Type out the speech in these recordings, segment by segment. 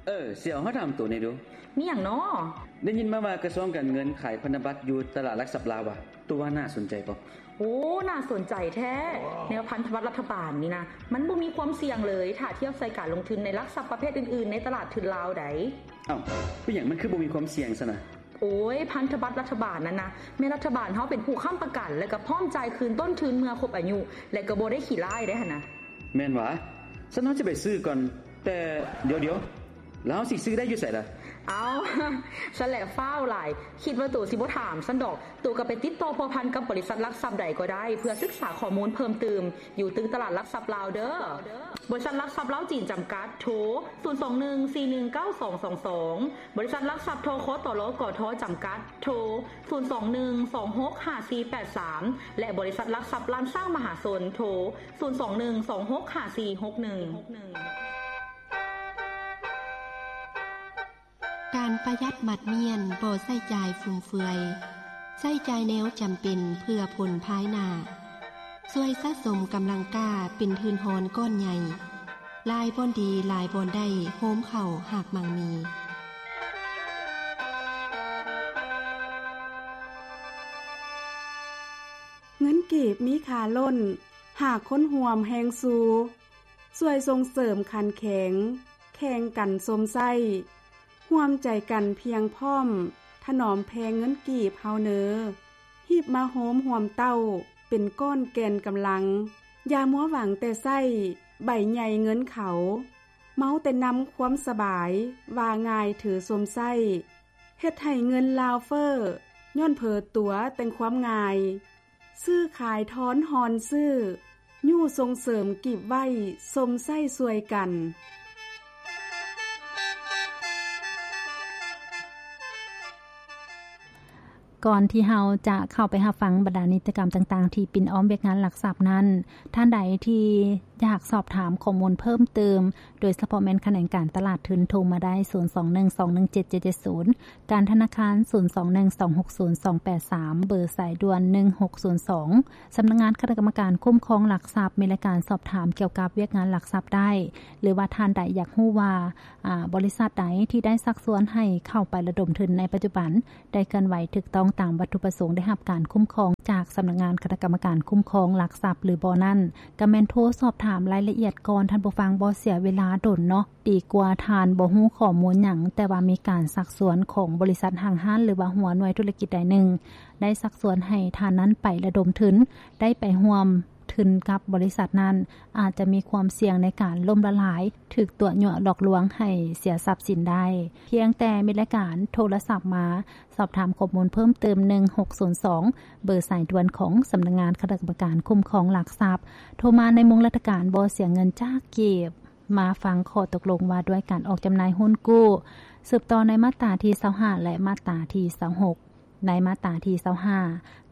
ເອີ ຊິເອົາ ເຮົາຖາມໂຕແດ່ດູ. ມີຫຍັງນໍ? ໄດ້ຍິນມາວ່າກະຊວງການເງິນຂາຍພັນທະບັດຢູ່ຕະຫຼາດຫຼັກຊັບລາວວ່າ ໂຕວ່າໜ້າສົນໃຈບໍ່? ໂອ້ ໜ້າສົນໃຈແທ້. ແນວພັນທະບັດລັດຖະບານນີ້ນະ ມັນບໍ່ມີຄວາມສ່ຽງເລີຍ ຖ້າທຽບໃສ່ການລົງທຶນໃນຫຼັກຊັບປະເພດອື່ນໆ ໃນຕະຫຼາດທຶນລາວໃດ໋. ເອົ້າ ເປັນຫຍັງມັນຄືບໍ່ມີຄວາມສ່ຽງຊັ້ນນະ? ໂອ້ຍ ພັນທະບັດລັດຖະບານນັ້ນນະ ແມ່ນລັດຖະບານເຮົາເປັນຜູ້ຄ້ຳປະກັນ ແລະກະພ້ອມຈ່າຍຄືນຕົ້ນທຶນເມື່ອຄົບອາຍຸ ແລະກະບໍ່ໄດ້ຂີ້ລ້າຍໄດ໋ຫັ້ນນະ. ແມ່ນຫວາ? ຊັ້ນເຮົາຈະໄປຊື້ກ່ອນ. ແຕ່ດຽວໆ ແລ້ວເຮົາຊິຊື້ໄດ້ຢູ່ໃສລະ? ເອົ້າ ຊັ້ນແຫຼະຟ້າວຫຼາຍ ຄິດວ່າໂຕຊິບໍ່ຖາມຊັ້ນດອກ. ໂຕກະໄປຕິດຕໍ່ພົວພັນກັບບໍລິສັດຫຼັກຊັບໃດກໍໄດ້ ເພື່ອສຶກສາຂໍ້ມູນເພີ່ມຕື່ມ ຢູ່ຕຶກຕະຫຼາດຫຼັກຊັບລາວເດີ. ບໍລິສັດຫຼັກຊັບລາວຈີນຈຳກັດ ໂທ ສູນສອງໜຶ່ງສີ່ໜຶ່ງເກົ້າສອງສອງສອງ. ບໍລິສັດຫຼັກຊັບ ທຄຕລ ກທ ຈຳກັດ ໂທ ສູນສອງໜຶ່ງສອງຫົກຫ້າສີ່ແປດສາມ ແລະ ບໍລິສັດຫຼັກຊັບລ້ານຊ້າງມະຫາຊົນ ໂທ ສູນສອງໜຶ່ງສອງຫົກຫ້າສີ່ຫົກໜຶ່ງ. ການປະຢັດໝັດມ້ຽນ ບໍ່ໃຊ້ຈ່າຍຟຸມເຟືອຍ, ໃຊ້ຈ່າຍແນວຈຳເປັນເພື່ອຜົນພາຍໜ້າ. ຊ່ວຍສະສົມກຳລັງກ້າເປັນທຶນຮອນກ້ອນໃຫຍ່. ຫຼາຍບ່ອນດີ ຫຼາຍບ່ອນໄດ້ ໂຮມເຂົ້າຮາກໝັ່ງມີ. ເງິນກີບມີຄ່າລົ້ນ ຫາກຄົນຮ່ວມແຮງຊູ່. ຊ່ວຍສົ່ງເສີມຂັນແຂງ ແຂ່ງກັນຊົມໃຊ້ ຮ່ວມໃຈກັນພຽງພ້ອມ ຖະໜອມແພງເງິນກີບເຮົາເນີ. ຮີບມາໂຮມຮ່ວມເຕົ້າ ເປັນກ້ອນແກ່ນກຳລັງ. ຢ່າມົວຫວັງແຕ່ໃຊ້ ໃບໃຫຍ່ເງິນເຂົາ. ເມົາແຕ່ນຳຄວາມສະບາຍ ວ່າງ່າຍຖືຊົມໃຊ້. ເຮັດໃຫ້ເງິນລາວເຟີ້ ຍ້ອນເຜີຕົວແຕ່ງຄວາມງ່າຍ. ຊື້ຂາຍທອນຮອນຊື້ ຍູ້ສົ່ງເສີມກີບໄວ້ຊົມໃຊ້ຊ່ວຍກັນ. ກ່ອນທີ່ເຮົາຈະເຂົ້າໄປຮັບຟັງບັນດານິຕິກຳຕ່າງໆ ທີ່ປິ່ນອ້ອມວຽກງານຫຼັກຊັບນັ້ນ, ທ່ານໃດທີ່ຢາກສອບຖາມຂໍ້ມູນເພີ່ມເຕີມ, ໂດຍສະເພາະແມ່ນຂະແໜງການຕະຫຼາດທຶນ, ໂທມາໄດ້ ສູນສອງໜຶ່ງສອງໜຶ່ງເຈັດເຈັດເຈັດສູນ, ການທະນາຄານ ສູນສອງໜຶ່ງສອງຫົກສູນສອງແປດສາມ ເບີສາຍດ່ວນ ໜຶ່ງຫົກສູນສອງ. ສຳນັກງານຄະນະກຳມະການຄຸ້ມຄອງຫຼັກຊັບ ມີລາຍການສອບຖາມກ່ຽວກັບວຽກງານຫຼັກຊັບໄດ້, ຫຼືວ່າທ່ານໃດຢາກຮູ້ວ່າ ອາ ບໍລິສັດໃດທີ່ໄດ້ຊັກຊວນໃຫ້ເຂົ້າໄປລະດົມທຶນໃນປັດຈຸບັນ ໄດ້ເຄື່ອນໄຫວຖືກຕ້ອງຕາມວັດຖຸປະສົງ ໄດ້ຮັບການຄຸ້ມຄອງຈາກສຳນັກງານຄະນະກຳມະການຄຸ້ມຄອງຫຼັກຊັບ ຫຼືບໍ່ນັ້ນ, ກະແມ່ນໂທສອບຖາມລາຍລະອຽດກ່ອນ, ທ່ານຜູ້ຟັງ, ບໍ່ເສຍເວລາດົນເນາະ. ດີກວ່າທ່ານບໍ່ຮູ້ຂໍ້ມູນຫຍັງ, ແຕ່ວ່າມີການຊັກຊວນຂອງບໍລິສັດຫ້າງຮ້ານ ຫຼືວ່າຫົວໜ່ວຍທຸລະກິດໃດໜຶ່ງ ໄດ້ຊັກຊວນໃຫ້ທ່ານນັ້ນໄປລະດົມທຶນ, ໄດ້ໄປຮ່ວມທຶນກັບບໍລິສັດນັ້ນ, ອາດຈະມີຄວາມສ່ຽງໃນການລົ້ມລະລາຍ, ຖືກຕົວະຍົວະຫຼອກລວງໃຫ້ເສຍຊັບສິນໄດ້. ພຽງແຕ່ມີລາຍການໂທລະສັບມາສອບຖາມຂໍ້ມູນເພີ່ມເຕີມ ໜຶ່ງຫົກສູນສອງ, ເບີສາຍດ່ວນຂອງສຳນັກງານຄະນະກຳມະການຄຸ້ມຄອງຫຼັກຊັບ. ໂທມາໃນໂມງລັດຖະການ, ບໍ່ເສຍເງິນຈັກກີບ. ມາຟັງຂໍ້ຕົກລົງວ່າດ້ວຍການອອກຈຳໜ່າຍຮຸ້ນກູ້, ສືບຕໍ່ໃນມາດຕາທີຊາວຫ້າ ແລະ ມາດຕາທີຊາວຫົກ. ໃນມາດຕາທີຊາວຫ້າ,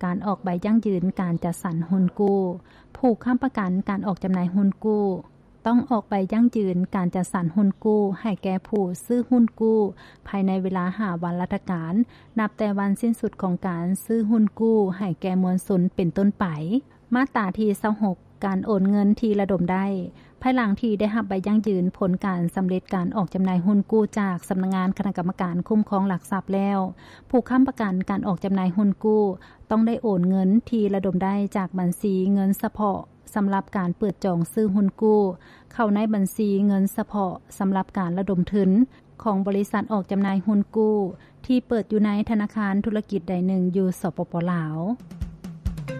ການອອກໃບຢັ້ງຢືນການຈັດສັນຮຸ້ນກູ້. ຜູ້ຄ້ຳປະກັນການອອກຈຳໜ່າຍຮຸ້ນກູ້ ຕ້ອງອອກໃບຢັ້ງຢືນການຈັດສັນຮຸ້ນກູ້ໃຫ້ແກ່ຜູ້ຊື້ຮຸ້ນກູ້ ພາຍໃນເວລາຫ້າວັນລັດຖະການ ນັບແຕ່ວັນສິ້ນສຸດຂອງການຊື້ຮຸ້ນກູ້ໃຫ້ແກ່ມວນຊົນເປັນຕົ້ນໄປ. ມາດຕາທີຊາວຫົກ, ການໂອນເງິນທີ່ລະດົມໄດ້. ພາຍຫຼັງທີ່ໄດ້ຮັບໃບຢັ້ງຢືນຜົນການສຳເລັດການອອກຈຳໜ່າຍຮຸ້ນກູ້ຈາກສຳນັກງານຄະນະກຳມະການຄຸ້ມຄອງຫຼັກຊັບແລ້ວ, ຜູ້ຄ້ຳປະກັນການອອກຈຳໜ່າຍຮຸ້ນກູ້ ຕ້ອງໄດ້ໂອນເງິນທີ່ລະດົມໄດ້ຈາກບັນຊີເງິນສະເພາະສຳລັບການເປີດຈອງຊື້ຮຸ້ນກູ້ ເຂົ້າໃນບັນຊີເງິນສະເພາະສຳລັບການລະດົມທຶນ ຂອງບໍລິສັດອອກຈຳໜ່າຍຮຸ້ນກູ້ ທີ່ເປີດຢູ່ໃນທະນາຄານທຸລະກິດໃດໜຶ່ງຢູ່ ສປປ ລາວ.